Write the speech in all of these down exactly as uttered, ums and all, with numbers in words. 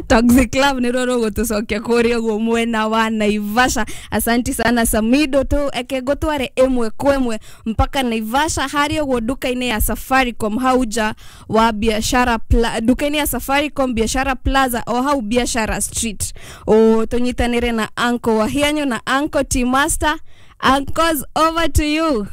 Toxic Love nä rwo rå gå tå cokia kå rä a å guo mwena wa Naivasha. Asanti sana Samido, tu eke ngũtware ĩmwe kwa ĩmwe mpaka Naivasha harĩa ũguo nduka-inĩ ya Safaricom hau nja wa Biashara Pla nduka-inĩ ya Safaricom Biashara Plaza o hau Biashara Street. O tũnyitanĩre na Uncle Wahianyo na Uncle T Master. Uncles, over to you.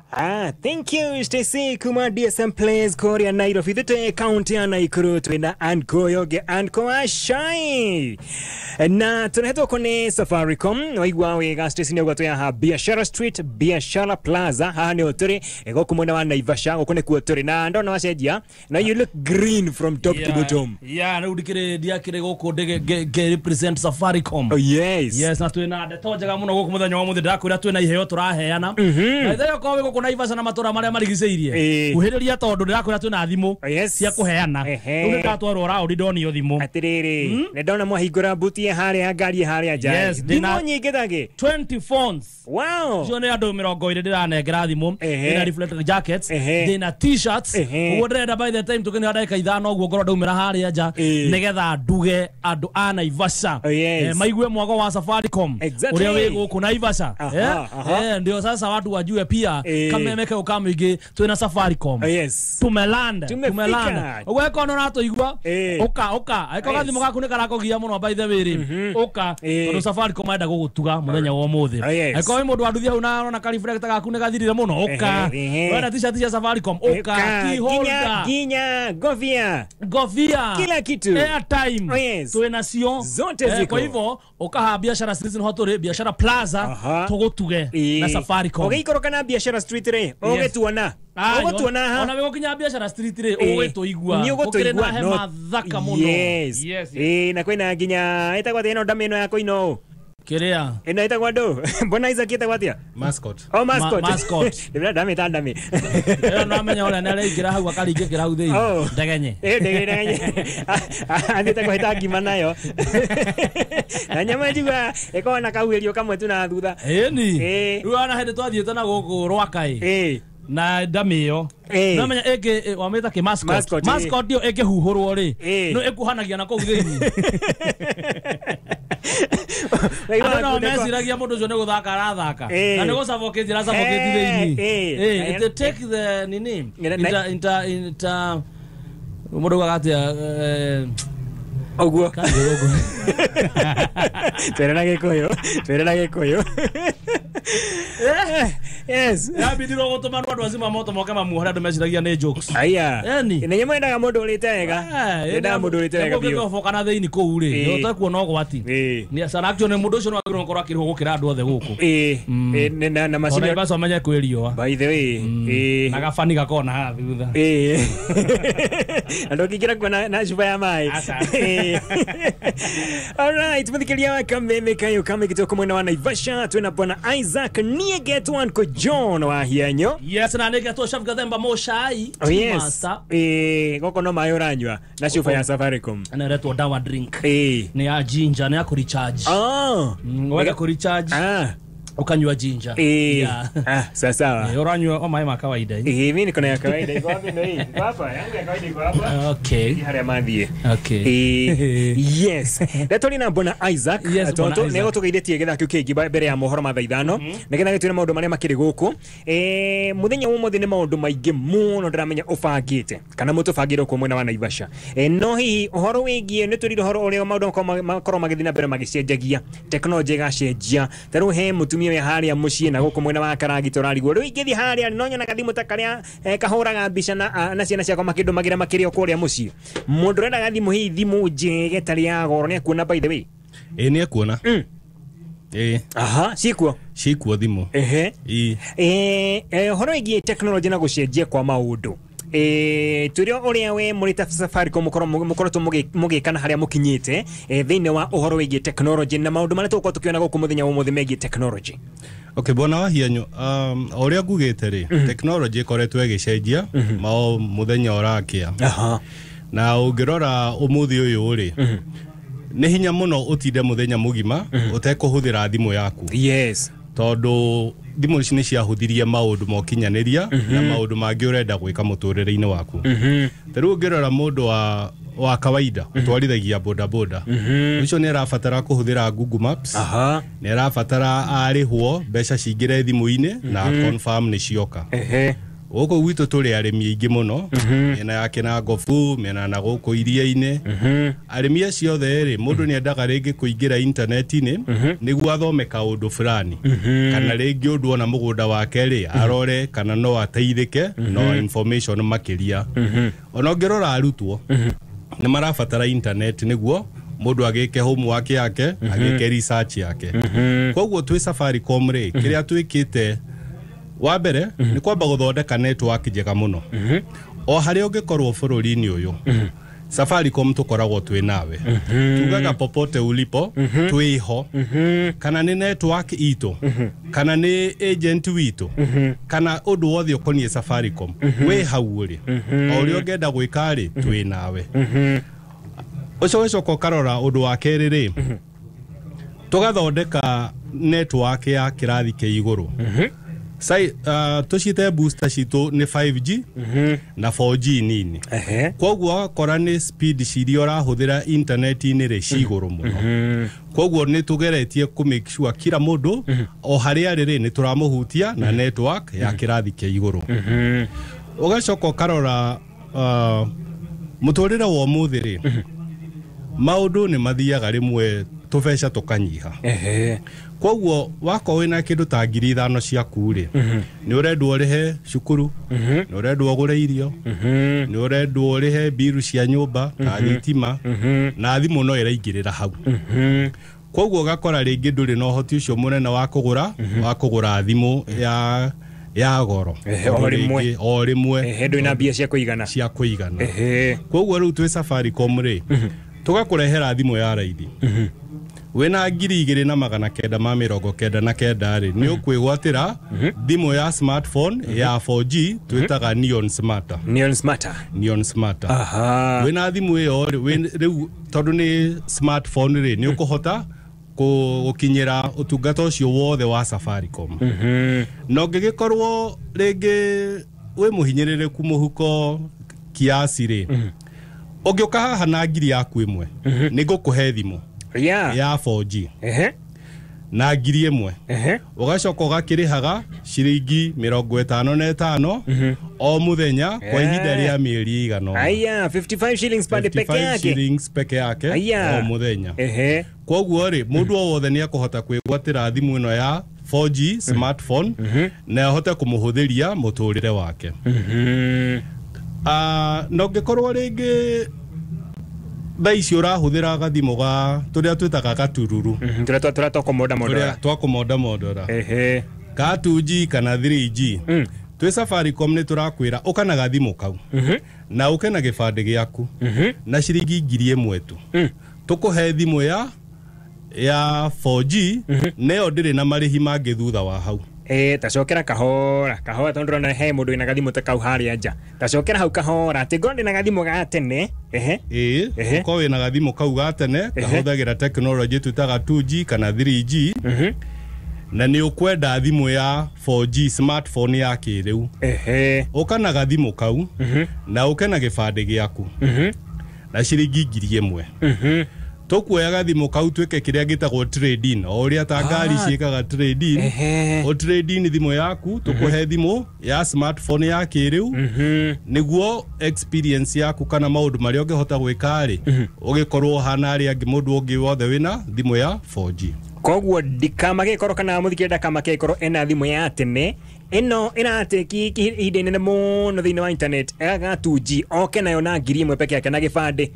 Ah, thank you Stacy kuma D S M Place Korea Nairobi thite county ya Nakuru twina Anko Yoge Anko Ashai na tunahetwo kone Safaricom waigua wega Stacy ni ugwatwo ya Biashara Street Biashara Plaza haha ni oturi goku mwena wa Naivasha goku nikuo turi na ndona wacenjia na you look green from top yeah, to bottom. Yeah, na ndikire ndiakire guku ndige represent Safaricom. Oh yes. Yes, na twina ndeto njega muno guku muthenya wa muthi ndakwira twina iheo turaheana. Na itheo ko wĩ gũkũ Naivasha na matũra marĩa marigicĩirie kuhĩrĩria tondũ ndĩrakwĩra twĩna thimũ cia kũheana rĩu nĩndatwarwo raũndi ndonio thimũ atĩrĩrĩ nĩ ndona mwahingũra buti harĩa ngari harĩa nja thimũ nyingĩ thangĩ twenty phones. Wow, icio nĩ andũ mĩrongo ĩrĩ ndĩranengera thimũ ndĩna reflector jackets ndĩna t-shirts ũguo ndĩrenda by the time tũkĩnĩra ndagĩka ithano ũguo ngorwo ndaumĩra harĩa nja nĩgetha nduge andũ a Naivasha maigue mwago wa Safaricom ũrĩa wĩ gũkũ Naivasha. Ndio sasa watu wajue pia kameme kau kamwingi twina Safaricom. Oh, yes. Tumelanda, tumelanda. Ũguo no ratoigua uka uka aiko gathimo gaku nĩ karakogia mũno by the way rĩ uka tondu Safaricom enda gũgũtuga mũthenya wa ũmũthĩ. Aiko wĩ mũndũ wa nduthi hau na arona ka reflector gaku nĩ gathirire mũno uka wenda t-shirt cia Safaricom uka key holder ginya gofia gofia kila kitu airtime. Oh, yes. Twina cio zote ziko. Kwa hivyo uka ha Biashara Street niho tũrĩ Biashara Plaza tũgũtuge na Safaricom. Ũgĩikũrũka na Biashara Street rĩ ũgĩtuona ũgũtuona ha ona wĩgũkinya Biashara Street rĩ ũgĩtũigua nĩ ũgũtũigua hema thaka mũno. Yes eh na kwĩna nginya ĩtagwo atĩa ĩno ndama ĩno ya kũino kĩrĩa ĩno ĩtagwo andũ mbona Isaac ĩtagwo atĩa mascot. Oh, mascot. Mascot ndĩra ndamĩta ndamĩ ĩyo no amenya ũrĩa nĩ araingĩra hau akaringĩkĩra hau thĩinĩ ndegenye ĩĩ ndegenye athiĩte kũhĩta ngima nayo na nyama njigua ĩkoragwo na kauhĩrio kamwe tu na thutha. Ĩni rĩu ona hĩndĩ twathiĩte na gũkũ Rwakaĩ ĩĩ na ndamĩ ĩyo no menya ĩngĩ wamĩta kĩ mascot mascot ĩyo ĩngĩhuhũrwo rĩ no ĩkuhanagia na kũu thĩinĩ. Andũ no meciragia mũndũ ũcio nĩ gũthaka arathaka na nĩ gũcabokĩtie aracabokĩtie thĩinĩ. Ĩĩ it take the nini inter inter inter mũndũ augaga atĩa ũguo twĩre na Gĩkũyũ twĩre na Gĩkũyũ. Yes. Yabindirwo gũtũmanwo andũ acima moto moke mamuohore andũ meciragia nĩ jokes. Aya. Eni. Nĩ nyamũ yendaga mũndũ ũrĩte wega. Yendaga mũndũ ũrĩte wega biũ. Ũngĩtoboka na thĩinĩ kũu rĩ, nĩ ũtekuona ũgwati. Nĩ sana actually mũndũ ũcio no agĩrĩirwo gũkorwo akĩrĩhwo gũkĩra andũ othe gũkũ. Ĩĩ. Na na macini. Ona Naivasha amenye kwĩ riũa. By the way. Ĩĩ. Na gabani gakona haha thutha. Ĩĩ. Andũ ũkĩingĩra kuo na cuba ya maĩ. All right, mũthikĩria wa Kameme kayo kame gĩtoko mwena wa Naivasha twĩna bwana Isaac Niegetwo Uncle John wa Hianyo. Yes, na Niegetwo Chef Gathemba Moshai. Oh yes. Eh, goko no maĩ ũranyua na cuba ya Safaricom. Na ĩretwo dawa drink. Eh. Nĩ ya ginger, nĩ ya kũrecharge. Oh. Wenda kũrecharge. Ah. Ukanyua ginger. Eh. Yeah. Ah, sawa sawa. Eh, uranyua o maĩ ma kawaida. Eh, mimi niko na ya kawaida iko wapi ndio hii? Iko hapa, yangu ya kawaida iko hapa. Okay. Harĩa mathiĩ. Okay. Eh, yes. Ndeto na bwana Isaac. Yes, Tondu nĩ gũtũgeithĩtie gĩthaa kĩu kĩngĩ mbere ya mohoro ma thaa ithano. Nĩgetha gĩtwĩre maũndũ marĩa makĩrĩ gũkũ. Eh, mũthenya wa ũmũthĩ nĩ maũndũ maingĩ mũno ndĩramenya ũbangĩte kana mũtũbangĩre kũ mwena wa Naivasha. Eh, no hihi ũhoro wĩgiĩ nĩ tũrire ũhoro ũrĩa maũndũ makorwo magĩthiĩ na mbere magĩcenjagia. Tekinoronjĩ ĩgacenjia. Ta rĩu he mũtumia wĩ harĩa mũciĩ na gũkũ mwena wa Karagita ũrarigwo rĩu ingĩthiĩ harĩa no nyonaga thimũ ta karĩa kahũraga mbica na na ciana ciakwa makĩndũmagĩra makĩrĩ o kũrĩa mũciĩ. Mũndũ ũrendaga thimũ hihi thimũ njega ĩtarĩ ya goro nĩ ekuona by the way. Ĩĩ nĩ ekuona. Ĩĩ. Aha, ciĩkuo ciĩkuo thimũ. Ehe. Ĩĩ. Eh, ũhoro wĩgiĩ tekinoronjĩ na gũcenjia kwa maũndũ. Eh, turio ũrĩa we mũrĩ ta Safaricom mũkorwo mũkoretwo mũgĩka na harĩa mũkinyĩte thĩinĩ wa ũhoro wĩgiĩ tekinoronjĩ na maũndũ marĩa tũgũkorwo tũkĩona gũkũ mũthenya wa ũmũthĩ megiĩ tekinoronjĩ. Okay, bwana wa Hianyo, um, ũrĩa ngugĩte rĩ, tekinoronjĩ ĩkoretwo ĩgĩcenjia mao mũthenya ũrakĩa. Aha. Na ũngĩrora ũmũthĩ ũyũ rĩ, nĩ hinya mũno ũtinde mũthenya mũgima ũtekũhũthĩra thimũ yaku. Yes. Tondũ Thimũ ici nĩ ciahũthirie maũndũ ma ũkinyanĩria na maũndũ mangĩ ũrenda gwĩka mũtũrĩre-inĩ waku. Ta rĩu ũngĩrora mũndũ wa wa kawaida ũtwarithagia bodaboda, ũcio nĩ arabatara kũhũthĩra Google Maps. Aha. Nĩ arabatara arĩhwo mbeca cingĩre thimũ-inĩ na confirm nĩ cioka. Ehe. Gũkũ gwitũ tũrĩ arĩmi aingĩ mũno, mĩena ya Kĩnangobu, mĩena na gũkũ iria-inĩ. Arĩmi acio othe rĩ, mũndũ nĩ endaga rĩngĩ kũingĩra intaneti-inĩ nĩguo athome kaũndũ fulani, kana rĩngĩ ũndũ ona mũgũnda wake rĩ arore kana no ateithĩke no information makĩria. Ona ũngĩrora arutwo nĩ marabatara internet nĩguo mũndũ agĩke homework yake, agĩke research yake. Koguo twĩ Safaricom rĩ, kĩrĩa twĩkĩte wa mbere nĩ kwamba gũthondeka network njega mũno. O harĩa ũngĩkorwo bũrũri-inĩ ũyũ, Safaricom tũkoragwo twĩ nawe. Tugaga popote ulipo twĩho, kana nĩ network itũ, kana nĩ agent witũ, kana ũndũ wothe ũkoniĩ Safaricom, wĩ hau ũrĩ. O ũrĩa ũngĩenda gwĩka rĩ, twĩ nawe. Ũcio ũgacoka ũkarora ũndũ wa kerĩ rĩ, tũgathondeka network ya kĩrathi kĩa igũrũ. Sai uh, tũciĩte booster citũ nĩ five G na four G nini. Ehe. Koguo ũgakora nĩ speed ciria ũrahũthĩra intaneti-inĩ rĩ ci igũrũ mũno. Koguo nĩ tũgeretie kũ make sure kila mũndũ o harĩa arĩ rĩ nĩ tũramũhutia na network ya kĩrathi kĩa igũrũ. Ũgacoka ũkarora uh, mũtũrĩre wa ũmũthĩ rĩ, maũndũ nĩ mathiaga rĩmwe tũbeca tũkanyiha. Ehe. Koguo wakorwo wĩna kĩndũ ta ngiri ithano ciaku rĩ, nĩ ũrendwo ũrĩhe cukuru, nĩ ũrendwo ũgũre irio, nĩ ũrendwo ũrĩhe mbiru cia nyũmba ta thitima, na thimũ no ĩraingĩrĩra hau. Koguo ũgakora rĩngĩ ndũrĩ na ũhoti ũcio mũnene wa kũgũra wa kũgũra thimũ ya ya goro. Ehe, o rĩmwe. O rĩmwe. Ehe, ndũrĩ na mbia cia kũigana. Cia kũigana. Ehe. Koguo rĩu twĩ Safaricom rĩ, tũgakũrehera thimũ ya raithi. Wĩna ngiri igĩrĩ na magana kenda ma mĩrongo kenda na kenda rĩ, nĩ ũkwĩgwatĩra thimũ ya smartphone ya four G twĩtaga Neon Smarter. Neon Smarter. Neon Smarter. Aha. Wĩna thimũ ĩyo rĩ, rĩu tondũ nĩ smartphone rĩ, nĩ ũkũhota gũkinyĩra ũtungata ũcio wothe wa Safaricom. Na ũngĩgĩkorwo rĩngĩ wĩ mũhinyĩrĩrĩku mũhuko kiasi rĩ, ũngĩũka haha na ngiri yaku ĩmwe, nĩ ngũkũhe thimũ Yeah. ya four G. Ehe. Na ngiri ĩmwe. Ehe. Ũgacoka ũgakĩrĩhaga ciringi mĩrongo ĩtano na ĩtano o mũthenya kwa ihinda rĩa mĩeri ĩigana ũna. Aya, fifty-five shillings per peke yake. Shillings peke yake o mũthenya. Ehe. Koguo rĩ, mũndũ o wothe nĩ ekũhota kwĩgwatĩra thimũ ĩno ya four G smartphone na ahote kũmũhũthĩria mũtũrĩre wake. Ah, na ũngĩkorwo rĩngĩ thaa ici ũrahũthĩra gathimũ ga tũrĩa twĩtaga gatururu, tũrĩa tũrĩa twakũmonda mondora, tũrĩa twakũmonda mondora, ehe, ka two G kana three G, twĩ Safaricom nĩ tũrakwĩra ũka na gathimũ kau na ũke na gĩbandĩ gĩaku na ciringi ngiri ĩmwe tu, tũkũhe thimũ ya ya four G nayo ndĩrĩ na marĩhi mangĩ thutha wa hau. Eh, tacokera kahora kahora tondu ndĩrona he mũndũ wĩna gathimũ ta kau harĩa nja. Tacokera hau kahora atĩ ngorwo ndĩna gathimũ ga tene. Ehe. Ĩĩ, ũkorwo wĩna gathimũ kau ga tene kahũthagĩra tekinoronjĩ twĩtaga two G kana three G, na nĩ ũkwenda thimũ ya four G smartphone ya kĩrĩu. Ehe. Ũka na gathimũ kau na ũke na gĩbandĩ gĩaku na ciringi ngiri ĩmwe. Tũkuoya gathimũ kau twĩke kĩrĩa gĩtagwo trade in, o ũrĩa ta ngari ciĩkaga trade in. O trade in thimũ yaku, tũkũhe thimũ ya smartphone ya kĩrĩu nĩguo experience yaku kana maũndũ marĩa ũngĩhota gwĩka rĩ, ũgĩkorwo ũhana arĩa angĩ mũndũ ũngĩ wothe wĩna thimũ ya four G. Koguo ndikamagĩkorwo kana mũthikĩrĩria ndakamagĩkorwo ena thimũ ya tene ĩno ĩratĩki ihinda inene mũno thĩinĩ wa internet ga two G, oke nayo na ngiri ĩmwe peke yake na gĩbandĩ.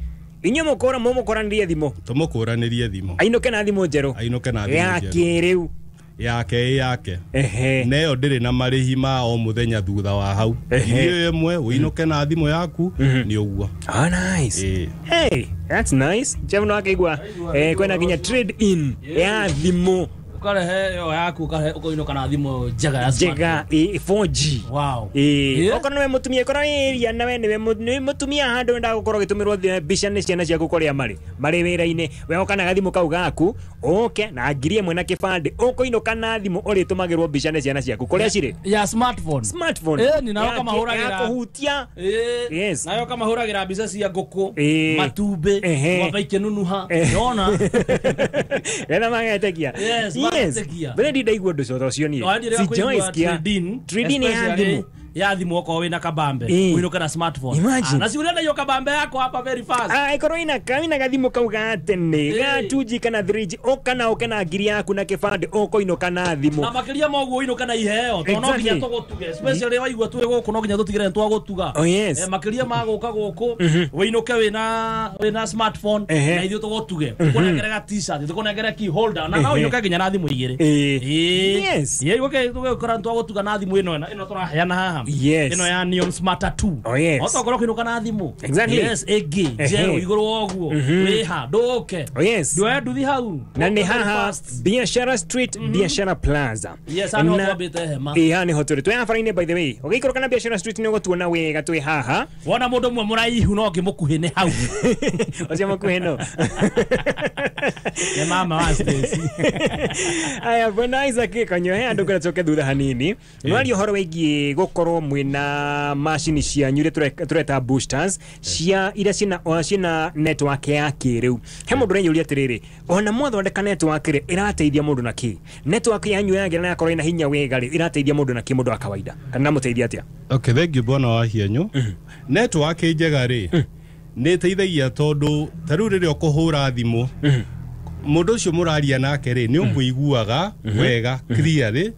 Inyuĩ mũkũra mũmũkũranĩrie thimũ, tũmũkũranĩrie thimũ, ainũke na thimũ njerũ, ainũke na thimũ ya kĩrĩu yake ĩ yake. Ehe. Nayo ndĩrĩ na marĩhi ma o mũthenya thutha wa hau. Ngiri ĩmwe ũinũke na thimũ yaku nĩ ũguo. Ah, nice. Hey, that's nice. Jeff no akaigua eh kwena nginya trade in ya thimũ. Ukarehe yo yaku ukarehe ukoinuka na thimu njega ya njega four G. Wow. Eh okorwo niwe mutumia korwo area nawe niwe mutumia handu wenda gukorwo gitumirwo mbica ni ciana ciaku kuria mari mari wira-ini we oka na gathimu kau gaku uke na ngiri imwe na kibande ukoinuka na thimu uritumagirwo mbica ni ciana ciaku kuria ciri ya smartphone smartphone eh ni nayo kama huragira kuhutia eh yes nayo kama huragira mbica cia nguku matumbi ng'ombe ikinunuha yona ena magetekia. Yes, yes. Bere ndi ndaigua ndu cotho cio nie si Joyce kia trading ya thimu ya thimu okorwo wina kabambe uinuke na smartphone. Ah, na si urenda hiyo kabambe yako hapa very fast. Ah, ikorwo ina kaina gathimu kau ga tene ga two G kana three G oka oke na ngiri yaku na kibande ukoinuka na thimu na makiria moguo uinuke na iheo to no nginya tugutuge especially waigua twi guku no nginya tutigire twagutuga. Oh, yes. Eh, makiria ma guka guku uinuke wina wina smartphone na ithuĩ tugutuge tukunengere t-shirt tukunengere key holder na no uinuke nginya na thimu igiri. Eh. Yes. Ye uke tugukora twagutuga na thimu ino ino turaheana haha. Yes. Ino ya Neon Smarter two. Oh, yes. Otokorwo kinuka na thimu. Exactly. Yes, egi njerũ igũrũ woguo wiha nduke. Oh, yes. Ndwe nduthi hau. Na ni haha Biashara Street, mm -hmm. Biashara Plaza. Yes, ano twambite hema. Eh, hani hoturi. Twe haha by the way. Ũgĩikũrũka na Biashara Street nĩ ũgũtuona wega twĩ haha. Wona mũndũ ũmwe mũraihu no ngĩmũkuhĩ nĩ hau. Ũcio mũkuhĩ no. Nĩ mama wa Stacy. Aya, bwana Isaac Kanyohe andũ kũrĩa tũke thutha hanini. Nwaria ũhoro wĩgiĩ gũkorwo mwina macini cianyu iria tureta boosters cia iria ciina ciina network ya kĩrĩu. He mũndũ ũrenyũria atĩrĩrĩ, ona mwathondeka network rĩ ĩrateithia mũndũ na kĩ? Network yanyu yagĩra na yakorwo ĩna hinya wega rĩ ĩrateithia mũndũ na kĩ mũndũ wa kawaida? Kana mũteithia atĩa? Okay, thank you bwana wa hianyu. Network njega rĩ nĩ ĩteithagia tondũ ta rĩu rĩrĩa ũkũhũra thimũ mũndũ ũcio mũraria nake rĩ nĩ ũmũiguaga wega clearly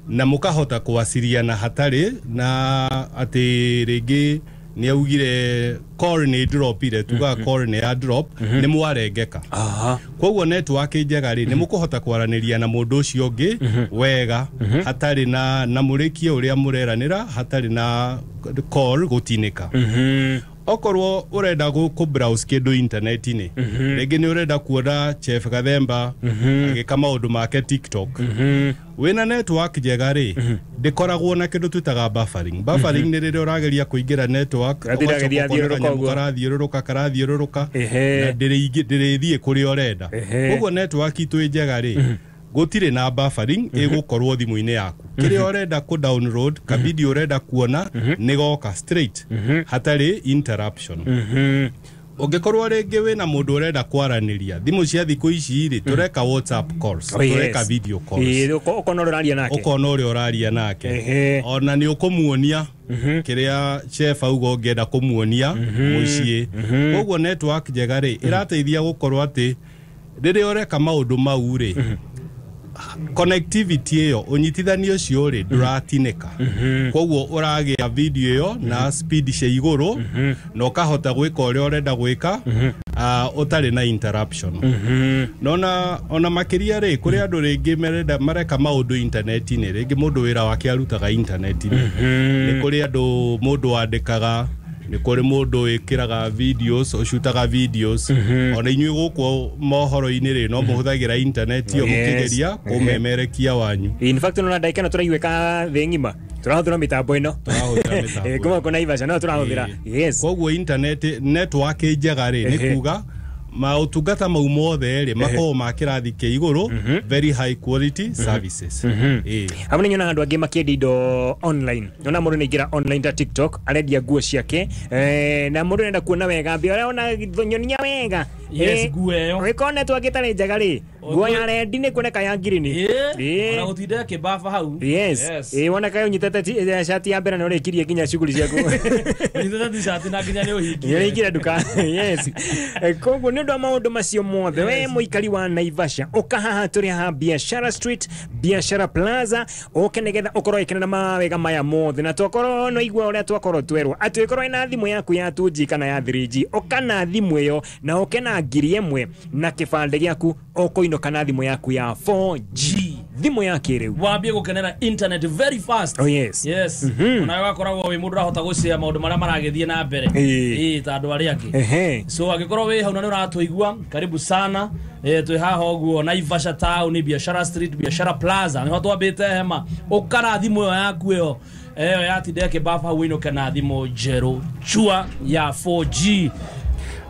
na mũkahota kwaciriana hatarĩ na atĩ rĩngĩ nĩ augire call nĩ dropire tuga call nĩ ya drop nĩ mwarengeka. Koguo network njega rĩ nĩ mũkũhota kwaranĩria na mũndũ ũcio ũngĩ wega hatarĩ na na mũrĩkie ũrĩa mũreranĩra hatarĩ na call gũtinĩka. Okorwo urenda ku browse kindu internet-inĩ rĩngĩ nĩ urenda kuona Chef Gathemba agĩka maũndũ make TikTok wĩna network njega rĩ ndĩkoragwo na kĩndũ twĩtaga buffering. Buffering nĩ rĩrĩa ũrageria kũingĩra network karathiũrũrũka karathiũrũrũka na ndĩrĩthiĩ kũrĩa ũrenda. Koguo network itũ njega rĩ gũtirĩ na buffering ĩgũkorwo thimũ-inĩ yaku. Kĩrĩa ũrenda kũ download ka video ũrenda kuona nĩ goka straight hatarĩ interruption. Ũngĩkorwo rĩngĩ wĩna mũndũ ũrenda kwaranĩria thimũ cia thikũ ici rĩ tũreka WhatsApp calls tũreka video calls ũkona ũrĩa ũraria nake ũkona ũrĩa ũraria nake ona nĩ ũkũmuonia kĩrĩa chef auga ũngĩenda kũmuonia mũciĩ. Koguo network njega rĩ ĩrateithia gũkorwo atĩ rĩrĩa ũreka maũndũ mau rĩ connectivity ĩyo ũnyitithanio ũcio rĩ ndũratinĩka. Koguo ũragĩa video ĩyo na speed cia igũrũ na ũkahota gwĩka ũrĩa ũrenda gwĩka ũtarĩ na interruption. Nona ona makĩria rĩ kũrĩ andũ rĩngĩ merenda mareka maũndũ internet-inĩ rĩngĩ mũndũ wĩra wake arutaga internet-inĩ nĩ kũrĩ andũ mũndũ wandĩkaga nĩ kũrĩ mũndũ wĩkĩraga videos ũcutaga videos ona inyuĩ gũkũ mohoro-inĩ rĩ no mũhũthagĩra internet ĩyo mũkĩgeria kũmemerekia wanyu. In fact no ndagĩka ĩno tũraiguĩka thĩ ng'ima tũrahũthĩra mĩtambo ĩno tũrahũthĩra mĩtambo kuma kũ Naivasha no tũrahũthĩra. Yes. Koguo internet network njega rĩ nĩ kuga maũtungata mau mothe rĩ makoragwo ma kĩrathi kĩa igũrũ very high quality services. Hau nĩ nyonaga andũ angĩ makĩendia indo online. Nyona mũndũ nĩaingĩra online ta TikTok arendia nguo ciake na mũndũ arenda kuona wega mbia ũrĩa ona nyonia wega. Yes, nguo ĩyo ũgĩkorwo network ĩtarĩ njega rĩ nguo ya rendi nĩ kuoneka ya ngirini. Ona gũtinda kĩbaba hau. Yes. Ĩĩ woneka ũnyitĩte shati ya mbere na ũrĩkirie nginya shughuli ciaku. Ũnyitĩte t-shirt na nginya nĩ ũhingie. Nĩ ũrĩkire nduka. Yes. Koguo nĩ ũndũ wa maũndũ macio mothe we mũikari wa Naivasha ũka haha tũrĩ haha Biashara Street, Biashara Plaza ũke nĩgetha ũkorwo ũgĩkenera mawega maya mothe na twakorwo no igua ũrĩa twakorwo twerwo atĩ ũkorwo wĩna thimũ yaku ya two G kana ya three G ũka na thimũ ĩyo na ũke na ngiri ĩmwe na kĩbandĩ gĩaku ũkũinũka na thimũ yaku ya four G. thimũ ya kĩrĩu wambie gũkenera internet very fast. Oh yes. Yes. Onawe wakoragwo wĩ mũndũ ũrahota gũcea maũndũ marĩa maragĩthiĩ na mbere ĩĩ ta andũ arĩa angĩ. So angĩkorwo wĩ hau na nĩ ũratũigua, karibu sana. Eh twĩ haha ũguo Naivasha town, Biashara Street, Biashara Plaza nĩho twambĩte hema. Ũkara thimũ ĩyo yaku ĩyo ĩyo yatinda ĩkĩbaba hau ũinũke na thimũ njerũ chua ya four G.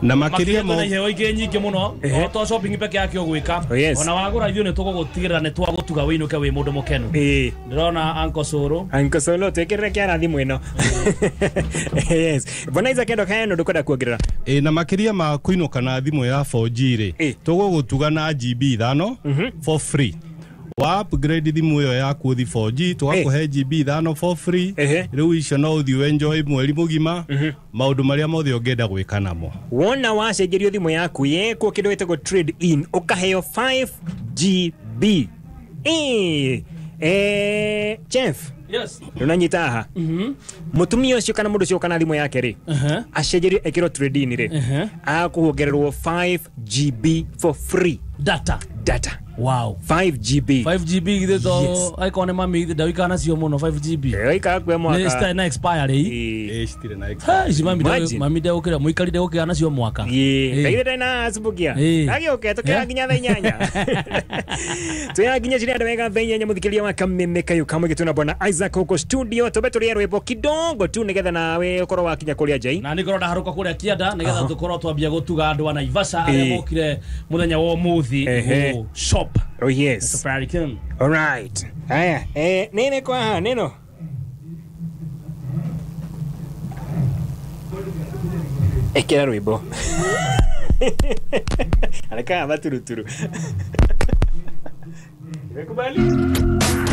Na makiria mo iheo ingĩ nyingĩ mũno to shopping peke yake ũgwĩka ona wagũra ithuĩ nĩ tũgũgũtigĩrĩra nĩ twagũtuga wĩinũke wĩ mũndũ mũkenu. Ndĩrona Uncle Soro Uncle Soro twĩkĩrĩre kĩara thimũ ĩno. Yes. Bwana Isaac endo kaeno ndũkwenda kuongerera. Ĩ na makiria ma kũinũka na thimũ ya four G rĩ tũgũgũtuga na G B ithano for free. Wa upgrade thimũ ĩyo yaku ũthi four G tũgakũhe G B ithano for free. Rĩu icio no ũthiĩ enjoy mweri mũgima maũndũ marĩa mothe ũngĩenda gwĩka namo. Wona wacenjerio thimũ yaku yekwo kĩndũ gĩtagwo trade in ũkaheo five G B. Eh eh Chef. Yes. Ndũnanyita haha. Mũtumia ũcio kana mũndũ ũcio kana thimũ yake rĩ acenjerio ekĩrwo trade in rĩ akũongererwo five G B for free data. Data. Wow. five G B. five G B githe to aikone mami githe ndawikana nacio muno five G B. Eh ika kwe mwaka. Ni style na expire ri. Eh citire na expire. Ici mami nde mami nde ukira muikarire ukira nacio mwaka. Ii. Kaire ndina asubukia. Agioke tukira nginya thaa inyanya. Tuya nginya cire andu wega thaa inyanya muthikiria wa kameme kayu kamwe gituna bwana Isaac huko studio tobe turie rwimbo kidogo tu nigetha nawe ukorwo wakinya kuria njai. Na nikorwo ndaharuka kuria kianda nigetha tukorwo twambia gutuga andu a Naivasha aria mokire muthenya wa umuthi shop. Oh yes. Safaricom. All right. Haya, eh nene kwa ha neno. Ekera rwimbo. Aleka maturuturu. Nimekubali.